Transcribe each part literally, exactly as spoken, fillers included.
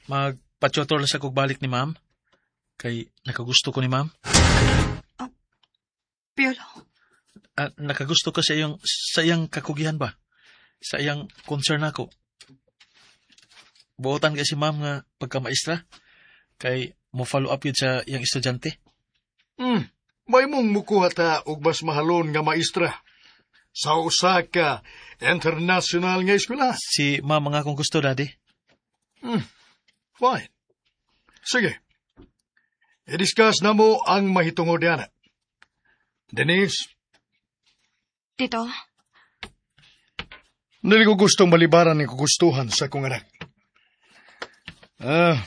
Magpa-tutor lang sa kog balik ni ma'am. Kay nakagusto ko ni ma'am. Piolo, Ah, nakagusto ko sa iyong sa iyang kakugihan ba? Sa iyang concern nako. Buotan kay si ma'am nga pagkamaestra kay mo follow up yun sa iyang estudyante. Hmm, may mong mukuha ta og mas mahalon nga maestra sa usa ka international nga eskwela. Si ma'am ang akong gusto, daddy. Fine. Sige. I-discuss na mo ang mahitungod niana. Denise, Tito, dili ko gustong malibaran ng kagustuhan sa akong anak. Ah,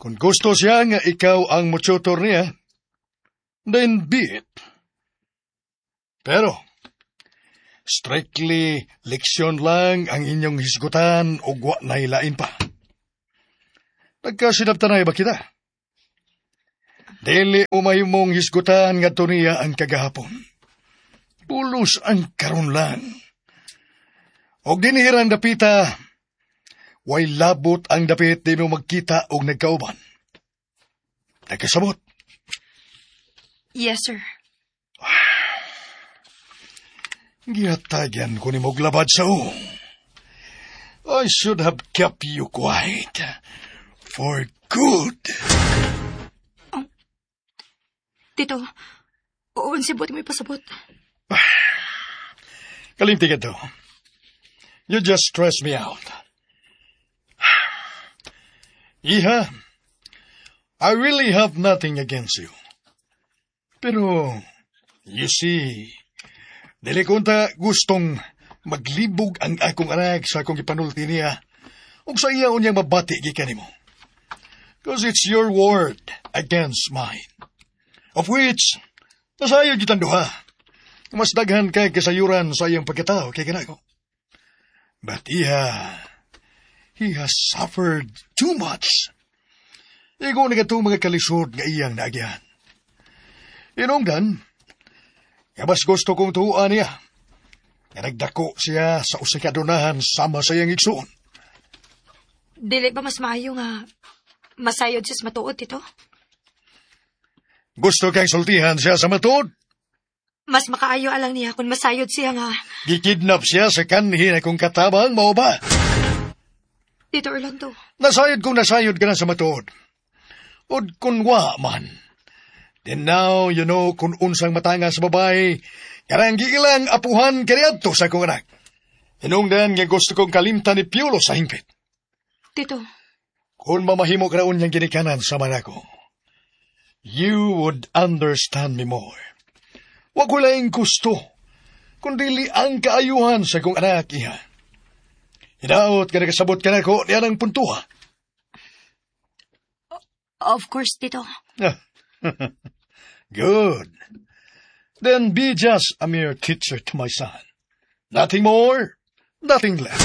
kung gusto siya nga ikaw ang mututor niya, then be it. Pero, strictly leksyon lang ang inyong hisgutan o wa na ilain pa. Nagkasinabtanay ba kita? Dili mo mahimong hisgutan nga niya ang kagahapon. Pulos ang karon lang. Og dinhirang dapita, way labot ang dapit di mo magkita og nagkauban. Nagkasabot. yes sir. Gihatagan ko nimo og labad sa uong. I should have kept you quiet. For good. Tito, unsa buot mo ipasabot. Kalimti ka to. You just stress me out. Iha, I really have nothing against you. Pero, you see, dili ko unta gustong maglibog ang akong anak sa akong ipanulti niya ug sa iya unyang mabati gikan nimo. Cause it's your word against mine. Of which, nasayod kitang duha. Mas daghan kay kasayuran sa iyang pagkatao kay kanako. But iha, he has suffered too much. Igo na katong mga kalisod nga iyang naagyan. Inungdan, nga mas gusto kong tuuan niya. Nga nagdako siya sa usa ka adunahan sama sa iyang igsuon. Dili ba mas maayo nga masayod siya sa matuod, Tito? Gusto kang sultihan siya sa matuod. Mas makaayo alang niya kung masayod siya nga. Gikidnap siya sa kanhi nakong katabang, mao ba? Tito Orlando, Nasayod kung nasayod ka na sa matuod. Ud kung wa man. Then now you know kung unsang matanga sa babae, karang giilang apuhan kaniadto sa akong anak. Hinungdan nga gusto kong kalimtan ni Piolo sa hingpit. Tito, Kung mamahimo ka niyang ginikanan sa manako, you would understand me more. Wa ko laing gusto, kundi ang kaayuhan sa akong anak, iha. Hinaot ka nakasabot ka nako niya ng puntuha. of course, Tito. Good. Then be just a mere teacher to my son. Nothing more, nothing less.